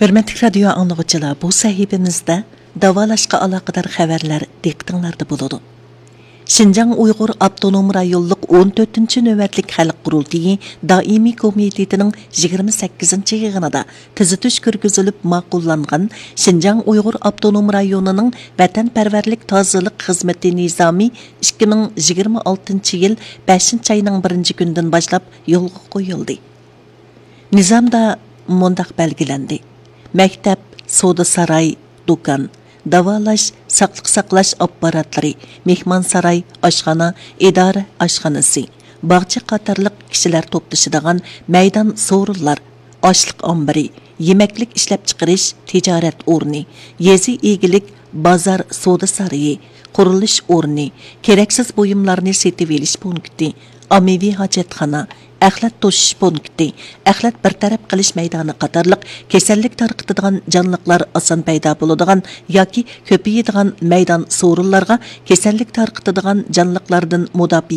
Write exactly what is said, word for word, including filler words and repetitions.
ھۆرمەتلىك رادىيو ئاڭلىغۇچىلار، بۇ سەھىپىمىزدە داۋالاشقا ئالاقىدار خەۋەرلەر دىققىتىڭلاردا بولىدۇ. شىنجاڭ ئۇيغۇر ئاپتونوم رايونلۇق ئون تۆتىنچى نۆۋەتلىك خەلق قۇرۇلتىيى دائىمىي كومىتېتىنىڭ يىگىرمە سەككىزىنچى يىغىنىدا تۈزىتىش كىرگۈزۈلۈپ ماقۇللانغان شىنجاڭ ئۇيغۇر ئاپتونوم رايونىنىڭ ۋەتەنپەرۋەرلىك تازىلىق خىزمىتى نىزامى ئىككى مىڭ يىگىرمە ئالتىنچى يىل بەشىنچى ئاينىڭ بىرىنچى كۈنىدىن باشلاپ يولغا قويۇلدى. نىزامدا مۇنداق بەلگىلەندى: مەكتەپ، سودا ساراي، دۇكان، داۋالاش، ساقلىق ساقلاش ئاپپاراتلىرى، مېھمانساراي، ئاشخانا، ئىدارە ئاشخانىسى، باغچە قاتارلىق كىشىلەر توپلىشىدىغان مەيدان سورۇنلار، ئاشلىق ئامبىرى، يېمەكلىك ئىشلەپچىقىرىش تىجارەت ئورنى، يېزا ئىگىلىك بازار سودا سارىيى، قۇرۇلۇش ئورنى، كېرەكسىز بۇيۇملارنى سېتىۋېلىش پونكىتى، ئاممىۋى ھاجەتخانا، ئەخلەت توشۇش پونكىتى، ئەخلەت بىر تەرەپ قىلىش مەيدانى قاتارلىق كېسەللىك تارقىتىدىغان جانلىقلار ئاسان پەيدا بولىدىغان ياكى كۆپىيىدىغان مەيدان سورۇنلارغا كېسەللىك تارقىتىدىغان جانلىقلاردىن مۇداپىئە